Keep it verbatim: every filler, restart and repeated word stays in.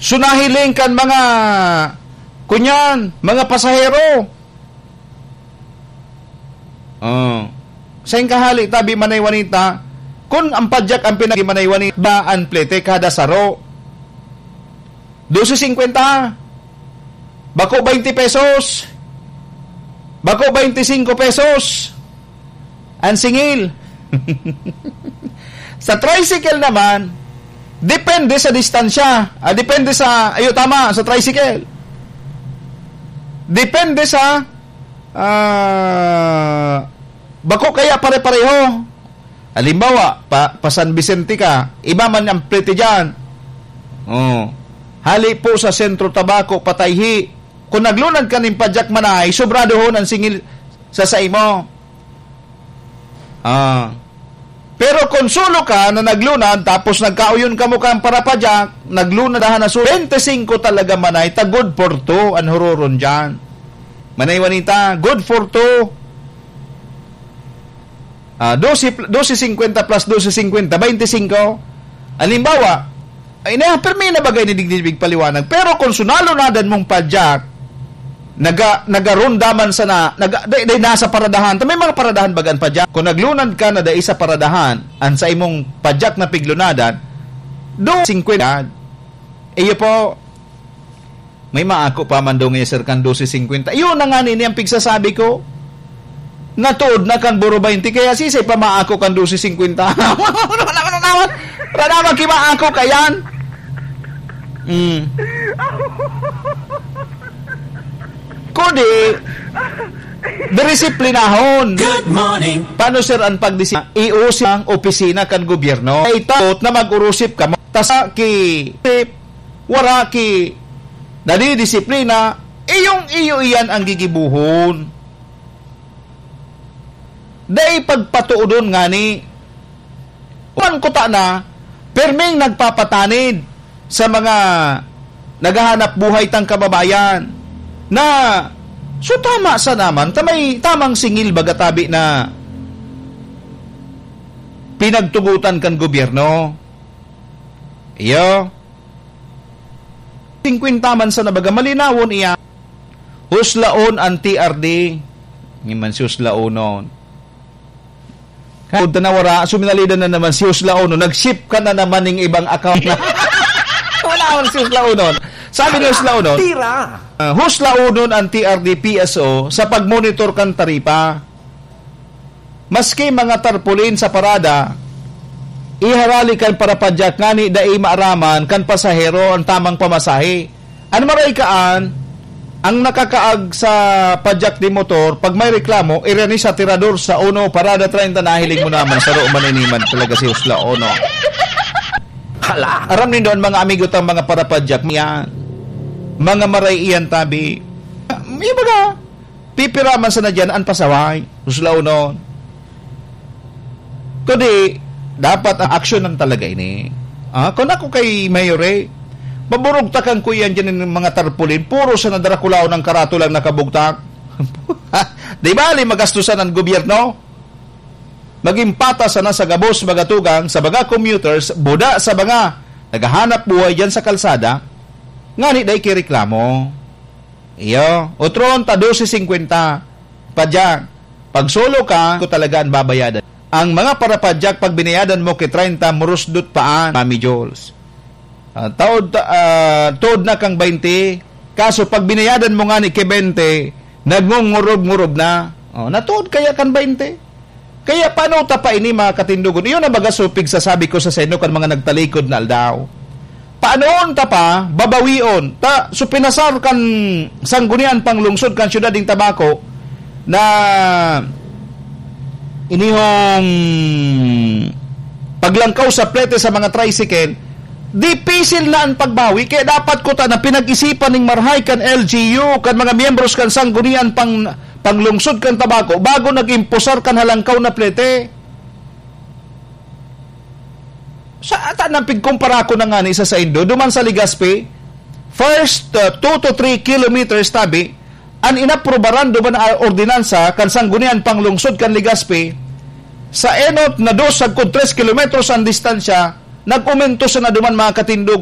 So, nahiling kan mga, kunyan, mga pasahero. Oh. Sain ka hali, tabi, Manay Juanita? Kun ang padyak ang pinag-, Manay Juanita, ba ang plete kada saro? Dose singkwenta. Bako baynte pesos. Bako baynte singko pesos. Ang singil. Sa tricycle naman, depende sa distansya. Ah, depende sa, ayo, tama, sa tricycle. Depende sa, ah, bako kaya pare-pareho. Halimbawa, pa, pa San Vicente ka, iba man ang plete diyan. Oh. Hali po sa Sentro Tabaco, patayhi. Kung naglunad ka nin padyak manay, sobradohon ang singil sa saimo. Ah. Pero kung solo ka na naglunad, tapos nagkauyon kamo kan parapadyak, naglunad dahan na solo, baynte singko talaga manay, ta good for two an huroron diyan. Manay Juanita, good for two. Ah, dose pl-, dose singkwenta plus dose singkwenta, baynte singko. Halimbawa, ay na, permi na bagay ni digdi paliwanag. Pero kung sa nalunadan mong padyak, naga-, nagarunda man sana, naga-, dai, dai nasa paradahan. Ta may mga paradahan baga an padyak. Kung naglunad ka na dai sa paradahan, an sa imong padyak na piglunadan, dose singkwenta. Iyo po, may maako pa man daw ngayon, sir, kan dose singkwenta. Yun na nga nini ang pigsasabi ko. Natuod na kan buro baynte, kaya sisay pa maako kan dose singkwenta. Wala naman, wala naman, wala naman kimaako kayan. Mm. Kundi, dirisiplinahon. Good morning. Paano, sir, ang pagdisi-, iusip ang opisina kan gobyerno? Ay, taot na mag-urusip ka mo. Ta sa ki-, wara ki nadidisiplina, iyong iyo iyan ang gigibohon. Dai pagpatoodon ngani. Human kuta na, perming nagpapatanid sa mga naghahanap buhay tang kababayan na, so, tama sa naman, ta may tamang singil baga tabi na pinagtugotan kan gobyerno. Iyo. Singkwenta man sana baga, malinawon iya. Huslaon ang T R D. Ni man si huslaonon. Kaya na wara, suminalidan na naman si huslaonon. Nag-shift ka na naman ning ibang account na. Wala akong si huslaonon. Sabi ni huslaonon, Tira! Ah, huslaonon ang T R D P S O sa pagmonitor kan taripa. Maski mga tarpaulin sa parada, iharali kan parapadyak ngani dai maaraman kan pasahero ang tamang pamasahe. An maray kaan, ang nakakaag sa padyak nin motor, pag may reklamo, irani sa tirador sa uno, parada treinta, nahiling mo naman, saro man ini man talaga si huslaonon. Hala! Aram nindo an mga amigo tang mga parapadyak, yan. Mga maray iyan tabi. May baga, pipira man sana diyan an pasaway, huslaonon. Kundi, dapat ang aksyonan talaga ini. Ah, kung ako kay Mayor, eh, maburugtakan ko yan dyan ng mga tarpaulin. Puro sana Draculaon ang karatula ang nakabugtak. Di bali, magastusan ang gobyerno? Maging patas sana sa gabos, mga tugang, sa mga commuters, buda sa mga naghahanap buhay dyan sa kalsada, ngani dai kireklamo. Iyo, otro ta, dose singkwenta. Padyak, pag solo ka, ko talaga ang babayadan. Ang mga parapadyak, pag binayadan mo ki treinta, murusdot paan, Mami Jules. Ah, taod ta-, ah, tuod na kang baynte. Kaso pag binayadan mo ngani ki baynte, nagngungurub-ngurub na. Oh, natuod kaya kan baynte? Kaya paano ta pa ini, mga katindogon? Iyon ang baga supig sasabi ko sa saino kan mga nagtalikod na aldaw. Paanoon ta pa, babawion ta, so pinasar kan Sangguniang Panglungsod kan Siyudad nin Tabaco na inihong paglangkaw sa plete sa mga tricycle, dipisil na ang pagbawi, kaya dapat kuta na pinag-isipan ning marahay kan L G U, kan mga miyembros kan Sangguniang Pang-, Panglungsod kan Tabaco, bago nag-imposar kan halangkaw na plete. Sa ata nang pigkumpara ko na ngani sa saindo, duman sa Legazpi, first, uh, two to three kilometers tabi, an inaprubaran duman na ordinansa kan Sangguniang Panglungsod kan Legazpi, sa enot na dos sagkod tres kilometros an distansya, nag-umento sana duman, mga katindogon,